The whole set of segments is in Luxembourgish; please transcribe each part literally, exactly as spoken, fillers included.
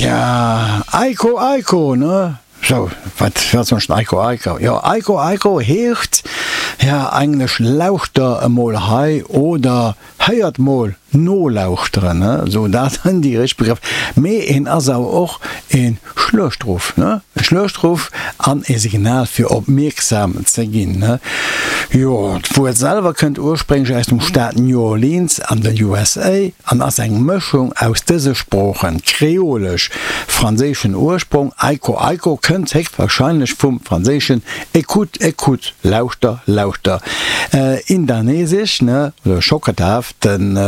Tja, Aiko Aiko, ne? Sou, wat wat soll ech Aiko Aiko? Jo, Aiko Aiko heescht, ja, eigentlech lauschter emol hei oder héiert mol nolauschteren, ne? Sou, dat sinn déi richteg Begrëff. Mee en ass awer och e Schluechtruff, ne? E Schluechtruff an e Signal fir opmierksam ze ginn, ne? Jo, d'Wuert selwer kënnt ursprénglech aus dem Staat New Orleans an den U S A an ass eng Mëschung aus dëse Sproochen, Kreolesch, franséischen Ursprong, Aiko Aiko kënnt héchstwarscheinlech vum franséischen écoute, écoute, lauschter, lauschter, indonesesch, ne, oder Schocketaf. Den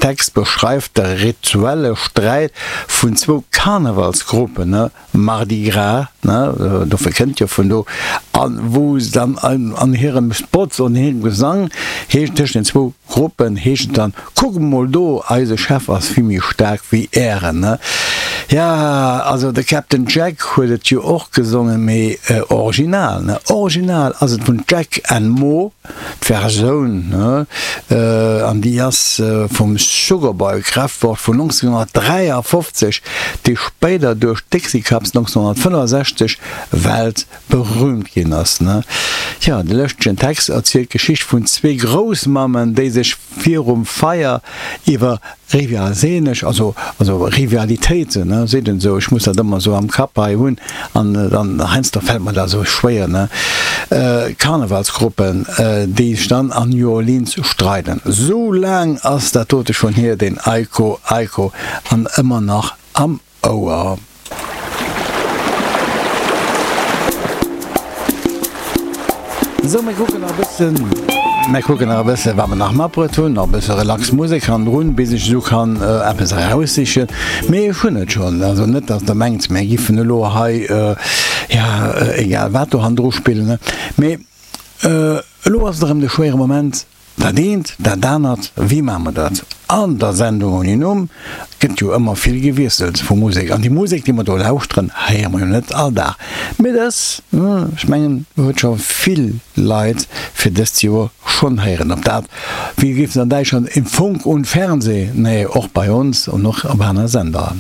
Text beschreift de rituelle Sträit vun zwou Karnevalsgruppen, ne, Mardi Gras, ne, dofir kënnt jo vun do, an wou se dann an hirem Spot, an hirem Gesang heescht tëschent den zwou Gruppen heescht et dann, Kuck emol do, eise Chef ass vill méi staark wéi ären, ne. Ja, also de Captain Jack huet et jo och gesongen, mee original, ne, original ass et vun Jack and Mo, d'Versioun, ne, an déi ass vum Sugarboy Kraftwort vun nonzénghonnertdräiafofzeg, déi spéider duerch d'Dixie Cups nonzénghonnertfënnefasechzeg weltberüümt ginn ass, ne. Tja, de lëschtegen Text erzielt d'Geschicht vun zwee Groussmammen, déi sech virum Feier iwwer rivalsenesch, also also Rivalitéiten, ne, seet een esou, ech muss dat ëmmer esou am Kapp hei hunn an dann heiansdo fält mer dat esou schwéier, ne, Karnevalsgruppen, déi sech dann an New Orleans streiden. Sou laang ass dat dote schonn hier, deen Aiko Aiko, an ëmmer nach am Ouer. Sou, mir kucken nach e bëssen, mir kucken nach e bëssen, wat mer nach matbruet hunn. Nach e bësse relax Musek hannendrun, bis ech esou kann eppes eraussichen. Mee ech hunn et schonn. Also net, dass Der mengt, mir giffen elo hei, jo, egal wat do hannendru spillen. Mee elo ass et erëm de schwéiere Moment. Dat eent, dat anert, wéi maache mer dat? An der Sendung ouni Numm gëtt jo ëmmer vill gewiesselt vu Musek. An déi Musek, déi mer do lauschteren, héiere mer jo net all Dag. Mee dës, ech mengen, huet scho vill Leit fir dëst Joer schonn héieren. Ob dat, wéi géif se an Däitschland, im Funk und Fernseh, nee, och bei ons an och op aner Sender.